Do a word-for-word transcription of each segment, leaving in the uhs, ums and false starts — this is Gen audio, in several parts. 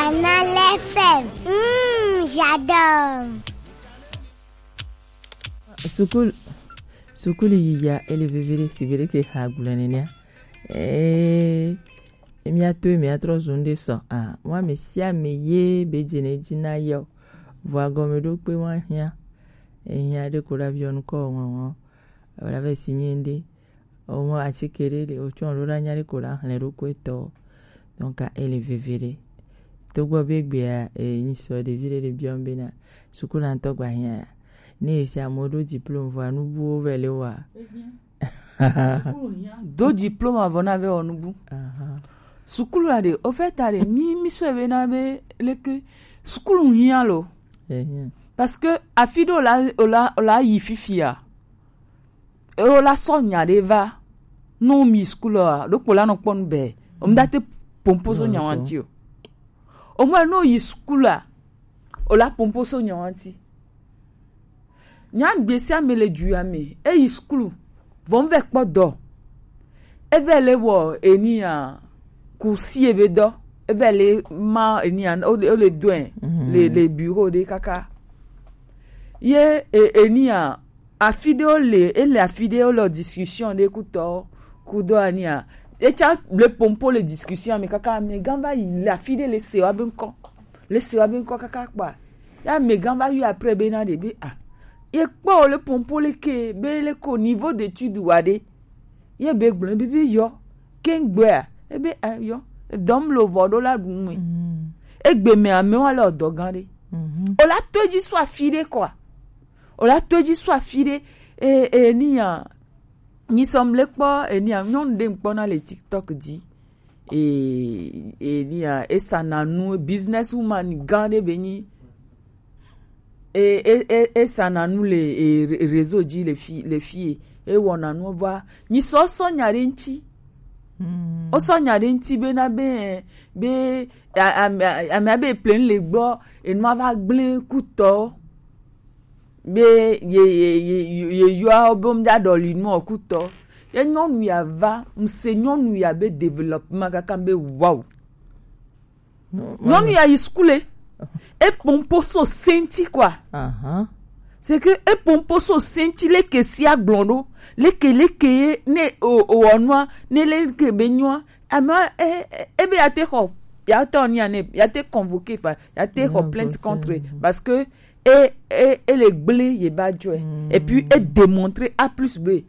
Anale F M. Mm, j'adore. Sukulu, sukulu yiya ele vevere si vere ke ha gblɔ nenea. Eh, emi ato emi atrɔ zu ŋɖe sɔ. Ah, wa me sia me ye be dze ne dzi na yɔ. Vɔa gɔme ɖo kpe wa hiã. Ehiã ɖe ko la viɔ nukɔ ŋɔŋɔ. Wala ve si nye ŋɖe. Omo atike ɖe le otsɔ ɖo la nya ɖe ko la hlẽ ɖo ko etɔ. Donc ele veve ɖe. Togbɔ be gbea e nyi sɔ ɖevi ɖe ɖe biɔ be na sukula ŋutɔ gba hiã ya. Ne esi amewo ɖo diplôme vɔa nubuwo vɛ le wa. Do diplôme avɔ na vɛ wɔ nubu. Aha. Sukulu la ɖe, au fait ta ɖe, mi mi sɔ be na be leke sukulu hiã lo. Ehiã. Parce que afi ɖe o la o la o la yi fifia. Eo la sɔ nya ɖe va. No mi school a ɖokpo la nɔ kpɔ nu bɛ. O mu da te pompo so nya wanti o. O mu no yi school a. O la pompo so nya wanti. Nya gbesi ame le ju ame. E yi school. Vɔ mu vɛ kpɔ dɔ. E vɛ le wɔ eni a. Kusi ebe dɔ. E vɛ le ma eni a. O le o le doin. Le le bureau de kaka. Ye e eni a. Afi ɖewo le ele afi ɖewo le discussion ɖe kutɔ kudo ania. Etsa le pompo le discussion me kaka me gan va yi le afi ɖe le se wa be ŋkɔ. Le se wa be ŋkɔ kaka kpa. Ya me gan va yi après be na ɖe be ah. Ye kpɔ le pompo le ke be le ko niveau d'étude wa ɖe. Ye be gblɔ be be yɔ. Ke ŋgbɔa ebe ah, yɔ. Dɔm lo vɔ ɖo la ɖu ŋue. Egbe me amewo le ɔdɔ gan ɖe. O la to edzi so afi ɖe kɔa. O la to edzi so afi ɖe e e ni ya nyi sɔm le kpɔ e ni ya nyɔnu ɖe ŋkpɔ na le TikTok dzi e e ni ya esa na nu business woman gã ɖe be nyi e e e esa na nu le e re- réseau dzi le fi le fi e e wɔ na nu va nyi sɔ sɔ nya ɖe ŋtsi o sɔ nya ɖe ŋtsi be na be eh, be a- ame ame abe plein le gbɔ enua va gblẽ kutɔ be ye ye ye ye yɔa be ŋda ɖɔli nu ɔkutɔ ye nyɔnu ya va ŋse nyɔnu ya be développement kaka be wow nyɔnu ya yi skule e pompo so senti quoi c'est que e pompo so senti leke si agblɔ ɖo leke leke ye ne o o ɔnua ne leke be nyɔa ame e e- ebe ya te xɔ ya te ɔnia ne ya te convoqué fa ya te xɔ plainte contre parce que e e e le gblẽ ye ba jɔe et puis e démontrer a plus b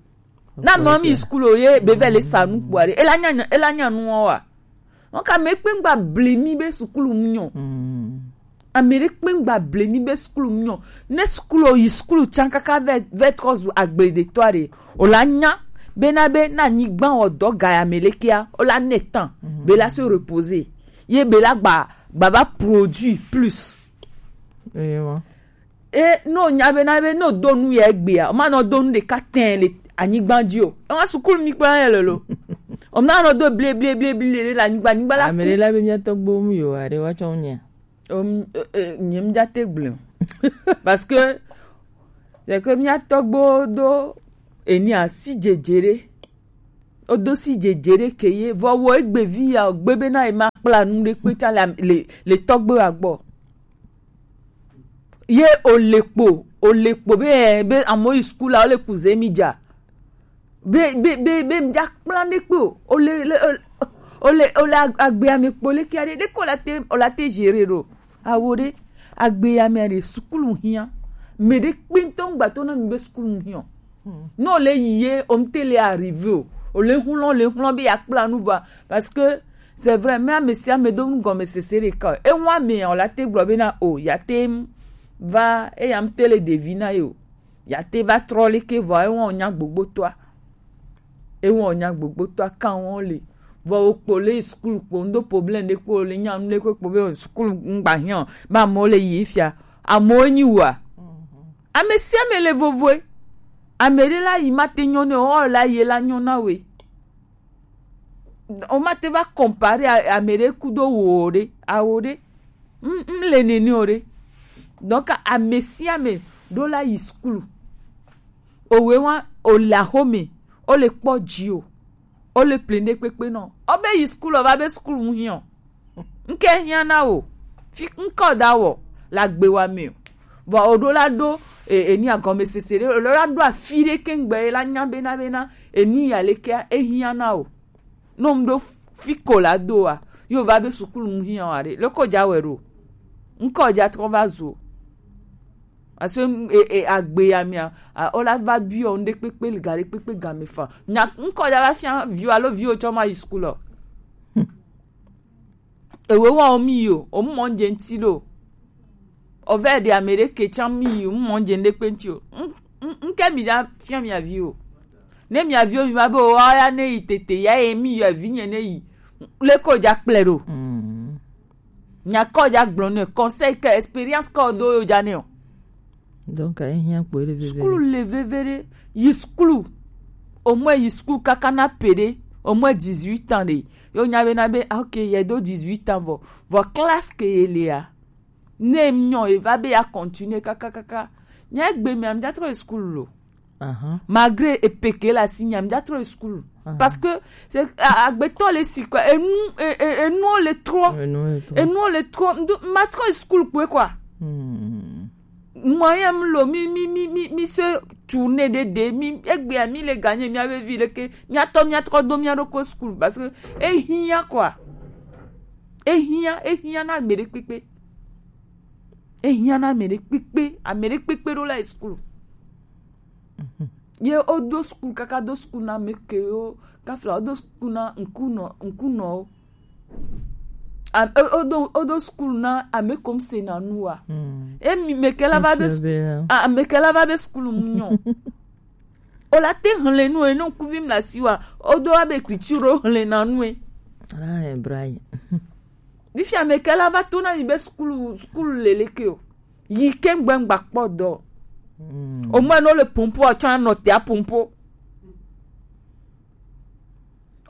na nɔ mi sukulu ye be vɛ le sa nu kpua ɖe ela nya nya- ela nya nuɔ wa wọn ka me kpe ŋgba bli mi be sukulu mu nyɔ ame ɖe kpe ŋgba bli mi be sukulu mu nyɔ ne sukulu yi sukulu tsan kaka vɛ vɛ trɔ zu agble de tɔ ɖe o la nya be na be na nyigba wɔ dɔ ga ya me le kia o la ne tan be la se reposer ye be la gba gba va produit plus Ewa. E no nya be na be no do nu ye egbea o ma nɔ do nu ɖeka tɛn le anyigba dzi o e wa sukulu mi kpla ye lolo o ma nɔ do blie blie blie blie le anyigba anyigba la ame ɖe la be mía tɔgbo mu yo aɖe wa tsɔ nya o nye mi dza te gblẽ o parce que c'est que mía tɔgbo do eni asi dzedze ɖe o do si dzedze ɖe ke ye vɔ wo egbe vi ya o gbe be na ye ma kpla nu ɖe kpe tsa le le le tɔgbo ya gbɔ ye o le kpo o le kpo be ɛ be amewo yi sukulu la o le ku ze mi dza be be be be mi dza kpla ne kpe o o le le o le o le agbe ame kpo le kia ɖe ɖe ko la te o la te gérer ɖo awo ɖe agbe ame ɖe sukulu hiã me ɖe kpe ŋutɔ ŋgbatɔ na mi be sukulu hiã o ne o le yi ye o ŋte le arrivé o o le hlɔ̃ le hlɔ̃ be ya kpla nu va parce que c'est vrai mais ame sia ame do nu gɔme sese ɖeka o ewa me o la te gblɔ be na o ya te va eya ŋte le ɖevi na ye o ya te va trɔ leke vɔ ewa o nya gbogbotoa ewa o nya gbogbotoa kan wa o le vɔ o kpo le sukulu kpo ŋdo problème ɖe kpo o le nya nu leke kpo be o sukulu ŋgba hiã o be amewo le yi fia amewo nyi wa ame sia ame le vovoe ame ɖe la yi ma te nyɔ ne o la yi la nyɔ na we o ma te va comparer ame ɖe kudo wo ɖe awo ɖe m m le nene o ɖe donc ame sia ame ɖo la yi sukulu owe wa o le axome o le kpɔ dzi o o le plein ɖe kpekpe nɔ o be yi sukulu o va be sukulu ŋu hiã o ŋke hiã na o Fi ŋkɔ da wɔ la gbe wa me o. Vɔ o ɖo la ɖo e, e ni agɔmesese ɖe, o ɖo la ɖo afi ɖe kengbe la nya bena bena enu ya le kea e hiã na o. No ŋɖo fi ko la do wa, yo va be sukulu mu hiã wa ɖe. Le ko ja wɛ ɖo. Ŋkɔ ja trɔ va zo. Parce que e, e, agbe ya mia, a, o la va biɔ ŋɖe kpekpe, ga ɖe kpekpe game fa. Nya ŋkɔ ja va fia vi o alo vi o tsɔ ma yi sukulu o. Ewe wa o mi yi o, o mɔ ŋje ŋti ɖo. O vɛ ɖe ame ɖe ke tsã mi yi, o mɔ ŋje ŋɖe kpe ŋti o. Ŋ, ŋ, ŋke mi ja fia mia vi o. Ne mia vi o mi va be o wa ya ne yi tete ya ye mi yi vi nye ne yi. Le ko ja kplɛ ɖo. Nya kɔ ja gblɔ ne conseil ke expérience kɔ do yo ja ne o. Donc, ehiã kpo ele veve. Sukulu le veve ɖe, yi sukulu. Au moins yi sukulu kaka na pe ɖe, au moins dix-huit ans ɖe. Yo nya be na be, ah, ok, ye do dix-huit ans vɔ. Vɔ classe ke ye le a. Ne mi nyɔ e va be ya continuer kaka kaka. Nya egbe mi am ja trɔ yi sukulu lo. Malgré epeke la si nyam ja trɔ yi school. Parce que c'est agbetɔ le si quoi, enu enu le trop. Enu le trop. Enu le trop. Ma trɔ yi school kwe quoi. Moyen mi lo mi mi mi mi mi se tourner de de mi egbea mi le gagner mi ave vi le ke mi atɔ mi atrɔ do mi aɖo ko school parce que ehia quoi. Ehia ehia na ame ɖe kpekpe. Ehia na ame ɖe kpekpe, ame ɖe kpekpe ɖo la yi school. Ye wodo school kaka do school na ame kewo kafla wodo school na ŋkunɔ ŋkunɔwo. Wodo wodo school na ame kom se na nu wa. Emi meke la va be ame ke la va be school mu nyɔ. O la te hle nu e no kuvi mla si wa. Wodo abe écriture o hle na nu e. Ala e brai. Bifia ame ke la va to na mi be school school leleke o. Yi ke ŋgbe ŋgba kpɔ dɔ. O mɔ no le pompo a tsɔ anɔ te a pompo.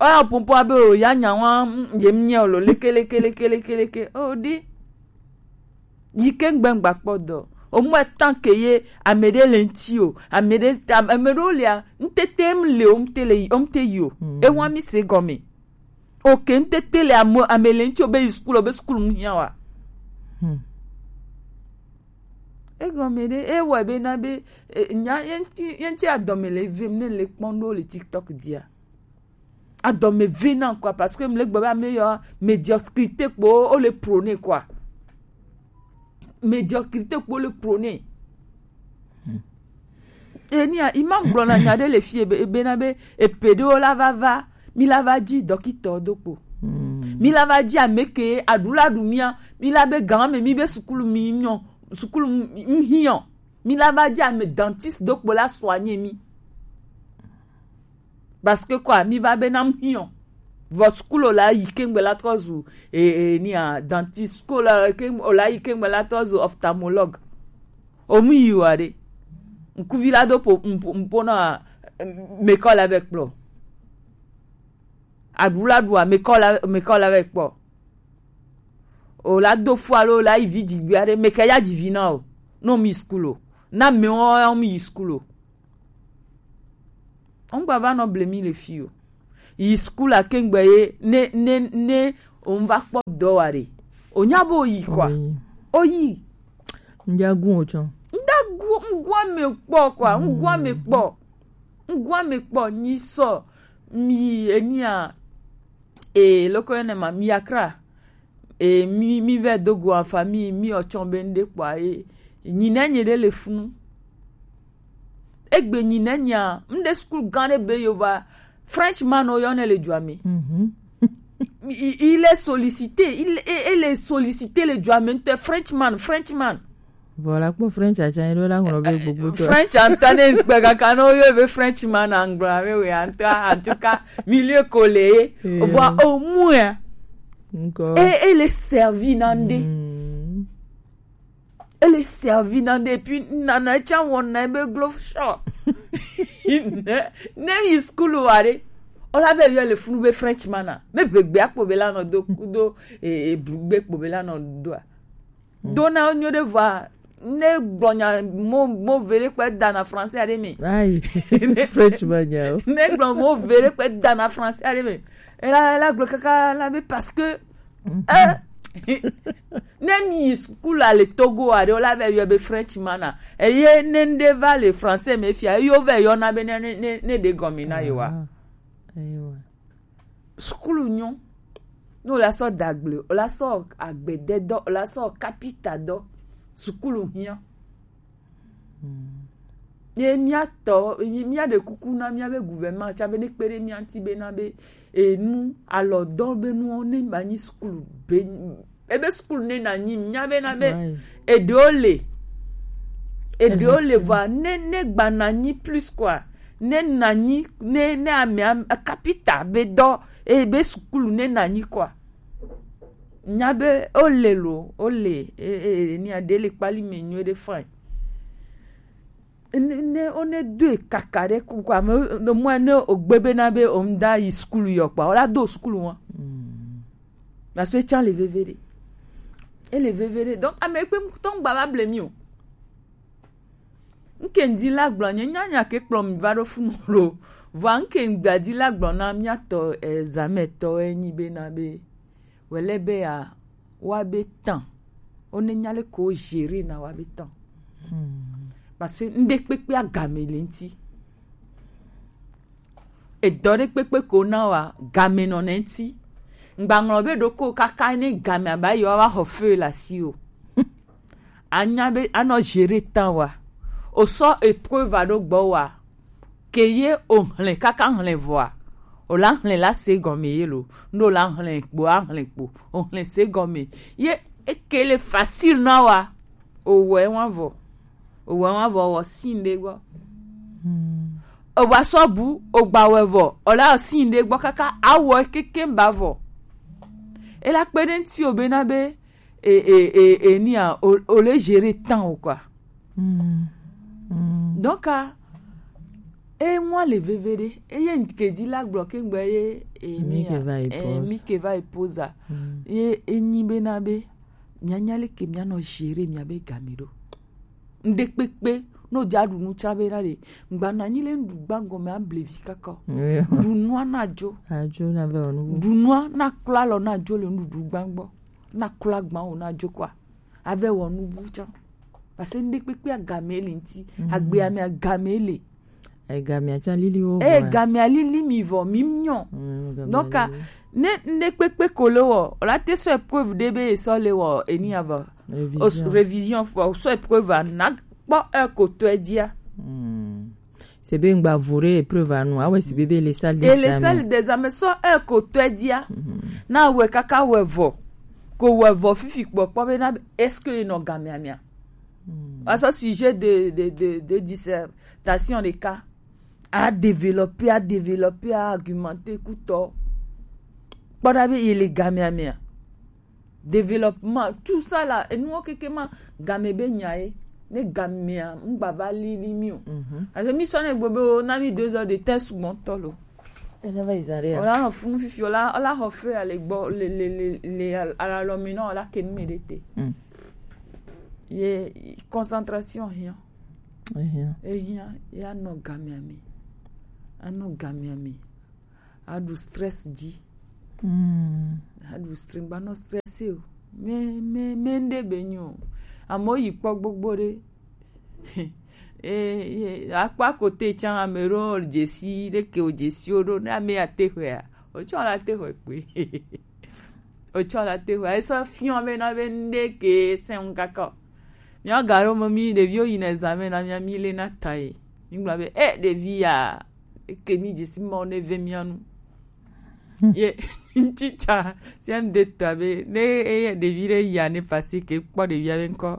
Oya pompo abe o ya nya wa ye mi nye o lo leke leke leke leke leke o di. Yi ke ŋgbe ŋgba kpɔ dɔ. O mɔ tan ke ye ame ɖe le ŋti o. Ame ɖe ame ɖewo lia ŋtete m le o ŋte le yi o ŋte yi o. E wa mi se gɔme. Ok, ŋtete le ame ame le ŋti o be yi school o be school mu hiã wa. Egɔme ɖe ewɔe be na be nya ye ŋti ye ŋti adɔme le vem ne le kpɔm ɖo le TikTok dia. Adɔme ve na quoi parce que mle gbe be ame yɔ médiocrité kpo o le prôner quoi. Médiocrité kpo le prôner. Enia ima gblɔ na nya ɖe le fie be bena be epe ɖewo la va va mi la va dzi dɔkitɔ do kpo. Mi la va dzi ame ke aɖu la ɖu mia mi la be gan me mi be sukulu mi nyɔ sukulu mi hiɔ mi la va dzi ame dentiste do kpo la soigner mi. Parce que quoi mi va be nam hiɔ vɔ school o la yi kengbe la trɔ zu e e ni a dentiste school o la ke o la yi kengbe la trɔ zu ophtalmologue. O mu yi wa ɖe ŋkuvi la do po ŋpo ŋpo na mekɔ la vɛ kplɔ aɖu la ɖu a mekɔ la mekɔ la vɛ kpɔ. O la do fu alo o la yi vi dzi gbe aɖe mekɛ ya dzi vi na o. No mi school o na me o mi yi school o. Ŋgba va nɔ ble mi le fi o. Yi school a kengbe ye ne ne ne o ŋva kpɔ dɔ wa ɖe. O nya bo yi quoi. O yi. Ŋdza gu o tsɔ. Ŋda gu ŋgua me kpɔ quoi. Ŋgua me kpɔ. Ŋgua me kpɔ nyi sɔ mi enia e loko ene ma mi akra. E mi mi vɛ do go en famille mi ɔtsɔ be ŋɖe kpɔa e nyi ne nye ɖe le funu. Egbe nyi ne nya ŋɖe school gã ɖe be yo va Frenchman o yɔ ne le dua me. Il est sollicité il est sollicité le dua me ŋutɔ Frenchman Frenchman. Voilà kpɔ French atsã yi ɖo la ŋlɔ be gbogbo tɔ. French anta ne gbe kaka ne woyɔ be Frenchman angblɔ abe we anta en tout cas milieu ko le ye. Vɔ o mu ya. Nkɔ. E e le servi na ŋɖe. E le servi na ŋɖe et puis nana tsã wɔna be glo sɔ. Ne ne yi school wa ɖe. O la vɛ yɔ le funu be Frenchman a. Be gbegbe akpo be la nɔ do kudo e e blugbe kpo be la nɔ do a. Do na wo nyuie ɖe vɔa ne gblɔ nya mo mo ve ɖe kpe da na français aɖe me. Ayi French ma nya o. Ne gblɔ mo ve ɖe kpe da na français aɖe me. Ela ela gblɔ kaka la be parce que eh Ne mi yi sukulu a le Togo a ɖe, wo la vɛ yɔ be Frenchman a. Eye ne ŋɖe va le français me fia, yo vɛ yɔ na be ne, ne, ne, ne ɖe gɔme na yo wa. Ah, ewa. Sukulu nyɔ. Ne wo la sɔ dagble, wo la sɔ agbede dɔ, wo la sɔ kapita dɔ. Sukulu hiã. Ye míatɔ, míaɖe kuku na míabe gouvernement tsã be ne kpe ɖe mía ŋuti bena be enu alɔdɔ be nuwo ne ma nyi sukulu be ebe sukulu ne na nyi mía bena be eɖewo le eɖewo le vɔa ne ne gba na nyi plus quoi ne na nyi ne ne amea kapita be dɔ ebe sukulu ne na nyi quoi. Nya be ole lo ole e e e ni ade le kpali me nyo de fine. Ne ne o ne do e kaka de ku kwa me no mo ne o gbe be na be o mda yi school yo pa o la do school wa. Parce que tsa le vevere. E le vevere. Donc ame pe ton gba ba blame you. Nke ndi la gblɔ nye nya nya ke kplɔ mi va ɖo funu lo. Vɔa nke gba di la gblɔ na mía tɔ examen tɔ e nyi be na be wɛlɛ be ya wa be tan. O ne nya le ko gérer na wa be tan. Parce que ŋɖe kpekpe agame le ŋti. Edɔ ɖe kpekpe ko na wa game nɔ ne ŋti. Ŋgba ŋlɔ be ɖoko kaka ne game aba yi wa wa xɔ feu le asi o. Anya be anɔ gérer tan wa. O sɔ épreuve aɖo gbɔ wa. Ke ye o hlɛ kaka hlɛ vɔa. O la hlɛ la se gɔme ye lo. Ndo la hlɛ kpo a hlɛ kpo. O hlɛ se gɔme. Ye eke le facile na wa. O wɛ wa vɔ. O wɛ wa vɔ wɔ sin ɖe gbɔ. O gba sɔ bu o gba wɛ vɔ. O la sin ɖe gbɔ kaka awɔ keke ba vɔ. E la kpe ɖe ŋti o be na be e e e e nia o o le gérer tan o quoi. Donc a e ŋua le veve ɖe eye ŋke di la gblɔ ke ŋgbe ye e mi ke va e pose ye e nyi be na be mia nya le ke mia nɔ gérer mia be game ɖo. Ŋɖe kpekpe no ja ɖu nu tsa be na ɖe ŋgba na nyi le ŋɖu gba gɔme a blevi kaka o. Ɖu nua na jo. Ajo na be onu. Ɖu nua na kpla lɔ na jo le ŋɖuɖu gba gbɔ. Na kula gba o na jo kwa. Ave wɔ nu bu tsã. Parce que ŋɖe kpekpe agame le ŋti. Agbe ame agame le. Egamea tsã lili wo. E gamea lili mi vɔ mi nyɔ. Donc ne ŋɖe kpekpe ko le wɔ, la te sɔ épreuve ɖe be sɔ le wɔ eni ava. Révision. Révision fɔ sɔ épreuve a na kpɔ e ko tɔ e dia. C'est bien gba vo ɖe épreuve anu awe si bebe le salle d'examen. Et le salle d'examen sɔ e ko tɔ dia. Na we kaka we vo. Ko we vo fifi kpɔ kpɔ be na est-ce que no gamea mia. Parce que sujet de de de de dissertation de cas a développer a développer a argumenter kutɔ. Kpɔ da be il est gamea mia. Développement, tout ça là, et nous, ok, ma game be nya ye, ne gamea, ŋgba va lili mi o. Parce que mi sɔ ne gbo be o na mi deux heures de temps sugbɔ tɔ lo. Ena va izare. O la no funu fifi o la o la xɔ fe ale gbɔ le le le le ala lɔ mi na o la ke nu mi ɖe te. Ye concentration hiã. Ehiã. Ehiã ya nɔ gamea mi. Anɔ gamea mi. Aɖu stress dzi. Aɖu stress gba nɔ stress o. Me me me ŋɖe be nyo. Amewo yi kpɔ gbogbo ɖe. Akpa kote tsã ame ɖo dzesi ɖeke o dzesi o ɖo ne ame ya te xɔa. O tsɔ la te xɔe kpe. O tsɔ la te xɔa. Esɔ fiɔ be na be ŋɖe ke sɛn kaka. Mía ga ɖo me mi ɖeviwo yina examen na mía mi le na ta ye. Mi gblɔ be e ɖevi ya ke mi dzesi mɔ ne ve mía nu. Ye ŋtitsa sia ŋde ta be ne eye ɖevi ɖe ya ne pasi ke kpɔ ɖevia be ŋkɔ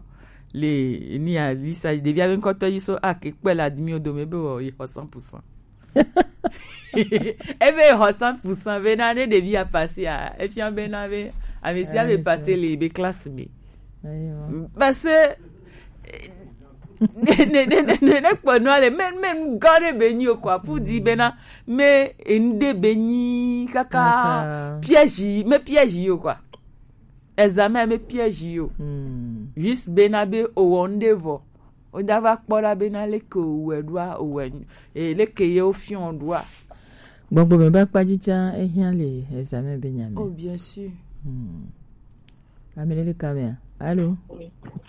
le ni ya visa ɖevia be ŋkɔ tɔ yi so a ke kpɛ le admi o dome be wɔ yi xɔ cent pour cent. Ebe xɔ cent pour cent be na ne ɖevi ya pasi a efia be na be ame sia be pasi le be classe me. Parce que ne ne ne ne ne kpɔ nua le me me ŋgɔ ɖe be nyi o kɔ apu di be na me ŋɖe be nyi kaka piège me piège yo quoi. Examen me piège yo. Juste be na be o wɔ ŋɖe vɔ. O da va kpɔ ɖa be na leke o wɛ ɖoa o wɛ e leke ye o fiɔ ɖoa. Gbɔgbɔ me ba kpa dzi tsã ehiã le examen be nya me. Oh bien sûr. Hmm. Amele le kamea. Allô?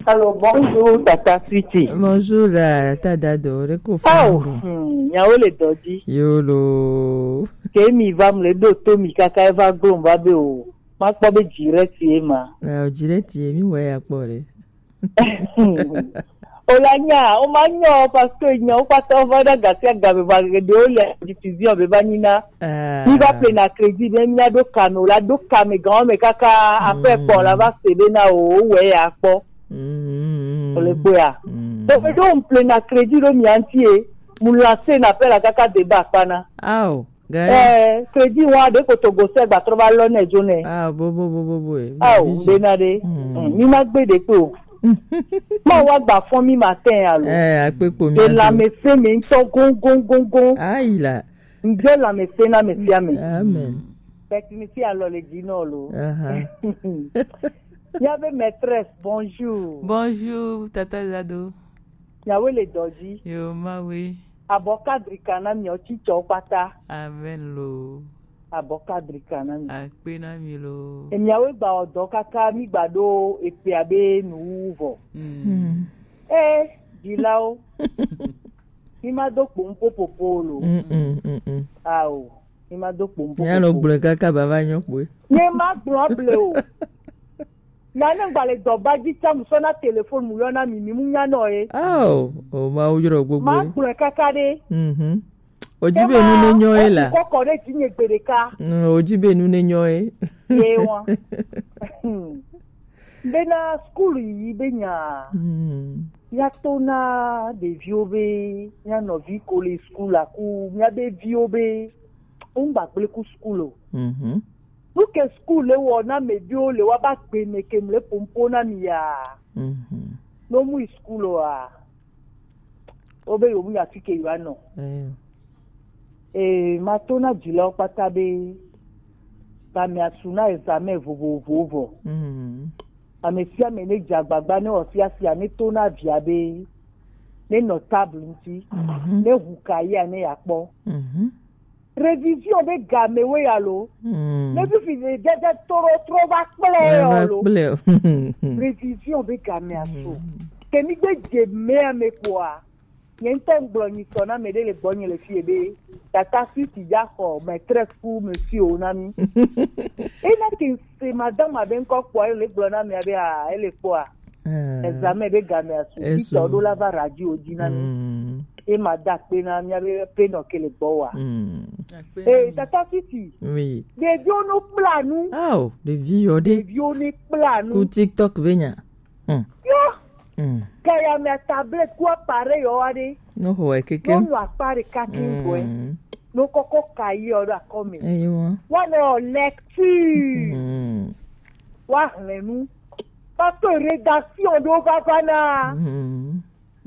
Allô, bonjour, Tata Sweetie. Bonjour, la, Tata Dado. Reko. Oh, hmm, nyawo le dɔdzi. Yolo. Ke mi va mle ɖo to mi kaka eva gblɔ va be o. Ma kpɔ be dzi ɖe tie ma. Eh, dzi ɖe tie, mi wɔ ya kpɔ ɖe. O la nya, o ma nya o, parce que nya o kpata o va ɖe gasi agame va ɖe o le diffusion be va nyina. Ah. Mi va ple na crédit be mi na ɖo kame, o la ɖo kame gan me kaka après kpɔ la va se be na o, o wɛ ya kpɔ. Mm. O le kpɔ ya. Mm. Donc, donc, on ple na crédit ɖo mi anti e, mu lancer na appel la kaka débat kpana. Ao. Gare. Eh, crédit wa de kotogo se gba trɔ va lɔ ne jo ne. Ah, bo, bo, bo, bo, bo, eh. Ah, o, de na de. Hmm. Hmm, mi ma gbe de pe o. Ma wa gba fɔn mi matin alo. Eh, akpe kpo mi. De la me se me ntɔ gon, gon, gon, gon. Ayi la. Nde la me se na me sia me. Amen. Bɛti mi si alɔ le dzi nɔ lo. Aha. Ya be maîtresse, bonjour. Bonjour, Tata Zado. Nyawo le dɔdzi. Yo, mawe. Abɔ kadri kana miɔ tsitsɔ kpata. Amen lo. Abɔ kadri kana mi. Akpe na mi lo. Emiawo gba ɔdɔ kaka mi gba ɖo epea be nuwu vɔ. Mm. Mm. Eh, dzilawo. Mi ma do kpom popopo lo. Mm, mm, mm, mm. Ao, mi ma do kpom popopo. Ya no gblɔ kaka baba nyɔ kpoe. Nye ma gblɔ ble o. Na ne gba le dɔ ba dzi tsam sɔ na téléphone mu yɔ na mi, mi mu nya nɔ ye. Ao, o ma wo yɔrɔ gbogbo. Ma gblɔ kaka ɖe. Mhm. O dzi be nu ne nyɔ ye la. Eku kɔkɔ ɖe dzi nye gbe ɖeka. Mm, o dzi be nu ne nyɔ ye. Ye wa. Bena school yi be nya. Mm. Ya to na ɖeviwo be, mia nɔvi ko le school aku, mia be viwo be, wo ŋgba gblẽ ku school o. Mhm. Nu ke school le wɔ na me ɖewo le wa ba gbe me ke mle pompo na mi ya. Mhm. No mu yi school o a. O be yo mu ya fi ke yo anɔ. Eh. Eh, ma to na dzilawo kpata be, ba mi asu na examen vovovowo vɔ. Mhm. Ame sia ame ne dze agbagba ne wɔ fiafia ne to na via be, ne nɔ table ŋuti, mhm, ne hu ka ya ne ya kpɔ. Mhm. Révision be game we ya lo. Mm. Ne fifi de dede toro tro va kple yo lo. Kple. Révision be game aso. Mm. Ke mi gbe dze me ame kpoa. Nye ŋutɔ ŋgblɔ nyitɔ na ame ɖe le gbɔnye le fie be, Tata Sweetie ya xɔ maîtresse ku monsieur o na mi. Ena ke se madame aɖe ŋkɔ kpɔa, ele gblɔ na mi abe, ah, ele kpɔa. Mm. Examen be game asu. Esu. Titɔ ɖo la va radio dzi na mi. Mm. E ma da kpe na mia be pe nɔ ke le gbɔ wa. Mm. Eh, Tata Sweetie. Oui. Ɖeviwo no kpla nu. Oh, ɖevi yɔ ɖe. Ɖeviwo ne kpla nu. Ku TikTok be nya. Hmm. Yo. Mm. Gaya mea tablette ku appareil yɔ wa ɖe. No xɔ wɛ keke. No nu akpa ɖeka ke gbɔe. Mm. No kɔkɔ ka yi yɔ ɖo akɔme. Eyi wa. Wa ne yɔ lecture. Mm. Wa hlẽ nu. Parce que rédaction ɖo va va na. Mm.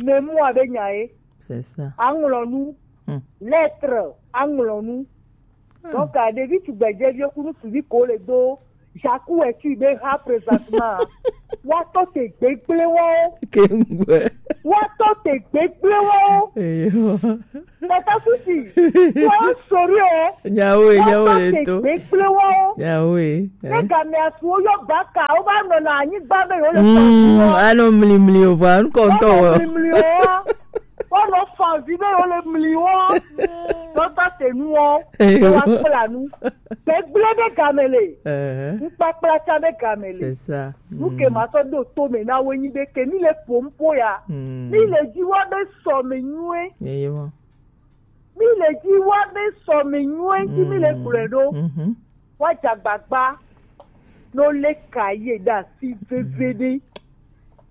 Ne mu abe nya ye. C'est ça. Aŋlɔ nu. Hmm. Lettre, aŋlɔ nu. Hmm. Donc, à, ɖevi tugbedzɛviwo kunu suvi ko le do. Jaku wɛ tu be ha présentement. Wa tɔ te gbegble wo. Ke ŋgbɛ. Wa tɔ te gbegble wo. Eyo. Tata Sweetie. Wa sori e. Nyawo e, nyawo e to. Wa tɔ te gbegble wo. Nyawo e. Ne game asuwo yɔ baka, wo va nɔ na anyigba be yo le. Mm, anɔ mli mli o, va ŋkɔ ŋutɔ wɔ. Mli mli o. Woanɔ fanvi be wole mli wo. Dɔta te nuwo. Eyo. Woakpla nu. Gbegblẽ be game le. Ehe. Ŋkpakpla tsã be game le. C'est ça. Nu ke ma sɔ ɖo to me na wo nyi be ke mi le ƒom ƒo ya. Mm. Mi le dzi wa be sɔ me nyuie. Eyo. Mi le dzi wa be sɔ me nyuie ŋuti mi le gblɔe ɖo. Mhm. Woadze agbagba ne wolé cahier ɖe asi veviɖe.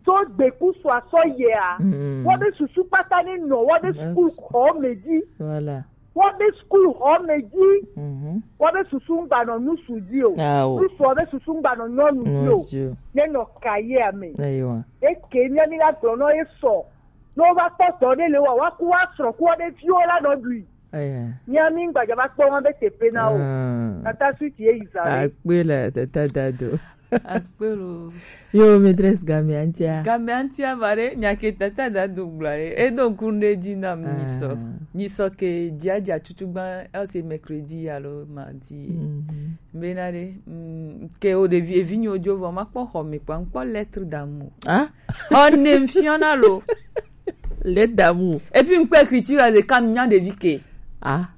Tso gbeku sɔ asɔ yea, mm, woabe susu kpata ne nɔ woabe, yes, school xɔ me dzi. Voilà. Woabe school xɔ me dzi. Mhm. Woabe susu ŋgbanɔ nusu dzi o. Ah, o. Nusu woabe susu ŋgbanɔ nyɔnu dzi o. Nyɔnu dzi o. Ne nɔ cahier me. Eyiwa. Eke mía mi la gblɔ nɔ ye sɔ. Ne wova kpɔ dɔ ɖe le wa, woaku woasrɔ̃ ku woabe viwo la nɔ ɖui. Eya. Mía mi ŋgbadza va kpɔ woabe teƒe na wo. Ah. Tata Sweet ye yi zã ɖe. Akpe le tata dado. Akpelo. Yo, maîtresse, game antia. Game antia bare, nyake tata da do gblare. E do kunde di na mi so. Ah. Ni so ke dia dia tutu gban, e se mercredi alo mardi. Mhm. Benare, mm, ke o de vi, evi nyo jo vo ma kpɔ xɔ mi kpa, n kpɔ lettre d'amour. Ah? O ne mfiona lo. Lettre d'amour. Et puis, n kpɔ écriture de kam nya de vi ke. Ah.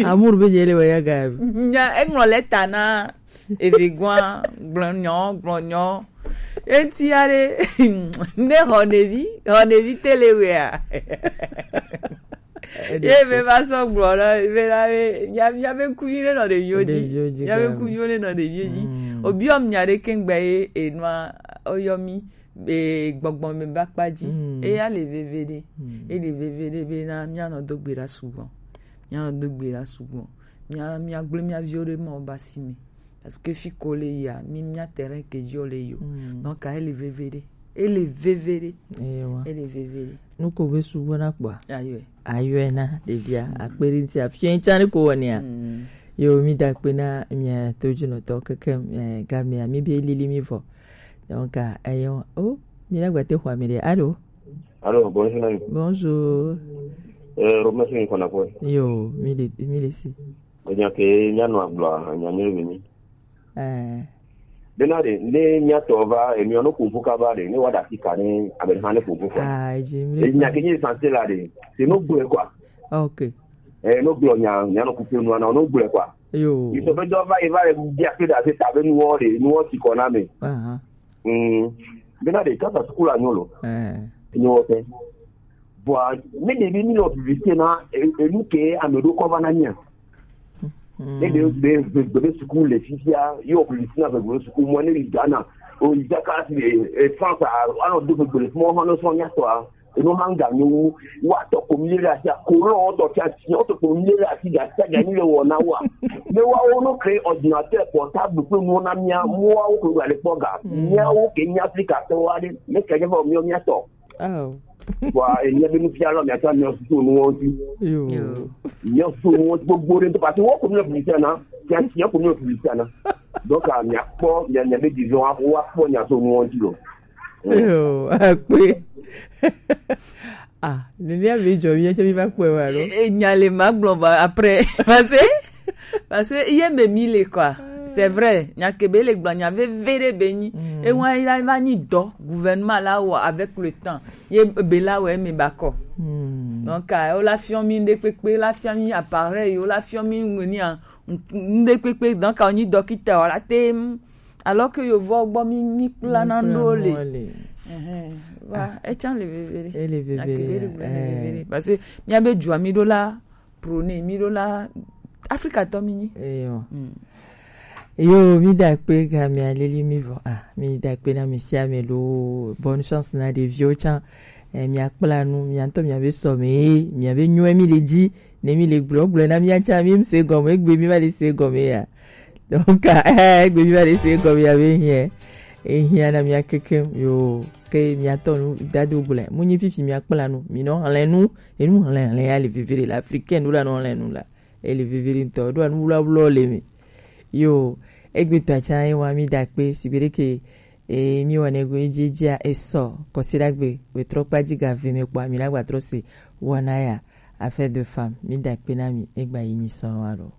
Amour be je le wa ya ga. Nya, e ŋlɔ lettre na Evi gwan, gblɔ nyɔ, gblɔ nyɔ. Eti ya ɖe, ne xɔ ɖevi, xɔ ɖevi tele wea. Ye be va sɔ gblɔ na, be na be, mia, mia be ŋku nyui ɖe nɔ ɖeviwo dzi. Ɖeviwo dzi mia be ŋku nyui ɖe nɔ ɖeviwo dzi. Mm. Obiɔ mia ɖe kengbe ye enua, oyɔ mi, e, gbɔgbɔ me ba kpa dzi. Mm. Eya le veve ɖe. Mm. E le veve ɖe be na mia nɔ do gbe ɖa sugbɔ. Mia nɔ do gbe ɖa sugbɔ. Mia, mia gblẽ mia viwo ɖe Mawu be asi me. Parce que fi ko le yia, mi mia terrain ke dzi o le yo. Mm. Donc, ele veve ɖe. Ele veve ɖe. Ewa. Ele veve ɖe. Nu ko be sugbɔ na kpɔa? Ayɔe. Ayɔe na ɖevia. Mm. Akpe ɖe ŋuti afia ŋuti ne ko wɔnea. Mm. Yo, mi da akpe na mia to dzi nɔtɔ keke, eh, gamea, mi be lili mi vɔ. Donc, ah, ayɔ, oh, mi na gbate xɔ mi ɖe. Allô? Allô, bonjour. Bonjour. Euh, Romain, c'est une connexion. Yo, mi le, mi le si. Enya ke mia nɔ agblɔa, enya nyuie be mi. Eh. Bena ɖe, ne mia tɔ va, emi ɔ no ƒoƒu kaba ɖe, ne wa ɖe asi ka ne ame ɖe hã ne ƒoƒu kɔ. Ah, je me. Enya ke nyi sanse la ɖe, se no gblɔe kɔa. Ok. Eh, no gblɔ nya, nya no kupe nua na, no gblɔe kɔa. Yo. Yi sɔ be dɔ va, yi va ɖe bia kpe ɖe ase ta be nuwɔ ɖe, nuwɔ ti kɔ na me. Aha. Mm. Bena ɖe, kaka suku la nyo lo. Eh. Nyo wɔ pɛ. Bɔa, ne ɖevi mi nɔ vivise na, e, enu ke ame ɖo kɔ va na mia. Mm. Ne ɖe, ɖe, ɖe, ɖe suku le fifia, yɔ vivise na vegbe suku mɔ ne li Ghana. O yi Dakar si, e, e, France, a, anɔ do vegbe le fimɔ, hɔn sɔ mia tɔ a. Enu hã ga nyo wu, wa tɔ ko mi le asi, ko lɔ tɔ tia si, o tɔ ko mi le asi, ga tia ga ni le wɔ na wa. Ne wa wo no créer ordinateur portable kple nuwo na mia, mo wa wo ko ga le kpɔ ga. Mm. Mia wo ke mia Afrika tɔ wa ɖe, ne ke je fɔ mia mia tɔ. Oh. Bɔa, e, mia be nufialɔ, mia tsɔ mia susu nuwo ŋuti. Yo. Yo. Mia susu nuwo ŋuti gbogbo ɖe ŋutɔ, parce que wo ko mia publicité na, mia, mia ko mia publicité na. Donc, ah, mia kpɔ, mia, mia be disons, ah, wa kpɔ mia so nuwo ŋuti lo. Yo, akpe. Ah, ne mia be dzɔ, mia tsɔ mi va kpɔe wa lo. E, e, nya le ma gblɔ ba après, parce que Parce que ye me mi le quoi. C'est vrai, nya ke be le gblɔ nya veve ɖe be nyi. Mm. E wa ya va nyi dɔ gouvernement la wɔ avec le temps. Ye be la wɔ me ba kɔ. Mm. Donc, ah, o la fiɔ mi nde kpekpe, la fiɔ mi appareil, o la fiɔ mi ngenia nde kpekpe, donc, ah, o nyi dɔkita, o la te, alors que yo vɔ gbɔ mi, mi kpla na ndo le. Ehɛn. Wa, ah, e tsan le veve ɖe. E le veve ɖe. Nya ke be le gblɔ le veve ɖe. Parce que mia be dzua mi ɖo la, prôné, mi ɖo la Afrika tɔ mi nyi. Eyo. Mm. Yo, mi da akpe ga mi aleli mi vɔ. Ah, mi da akpe na mi sia mi lo. Bonne chance na ɖeviwo tsã. Eh, mi akpla nu, mi ŋutɔ mi be sɔ mi, mi be nyuie mi le dzi, ne mi le gblɔ, gblɔ na mi tsã mi se gɔme, egbe mi va le se gɔme ya. Donc, eh, egbe mi va le se gɔme ya be hiɛ. E hiã na mia kekem, yo, ke mia tɔ nu dado gblẽ. Mu nyi fifi mia kpla nu, mi nɔ hlẽ nu, enu hlẽ hlẽ ya le veve ɖe la, africain ɖo la nɔ hlẽ nu la. E le veve ɖe ŋutɔ, ɖo anu wlɔ wlɔ le mi. Yo, egbe tɔ atsa ye wa mi da akpe, si be ɖe ke, e, mi wɔ ne go edzi dzia, e sɔ, kɔsi ɖagbe, be trɔ kpa dzi ga ve me kpɔ, mi na gba trɔ se, wɔna ya, affaire de femme, mi da akpe na mi, egba yi nyi sɔ wa ɖo.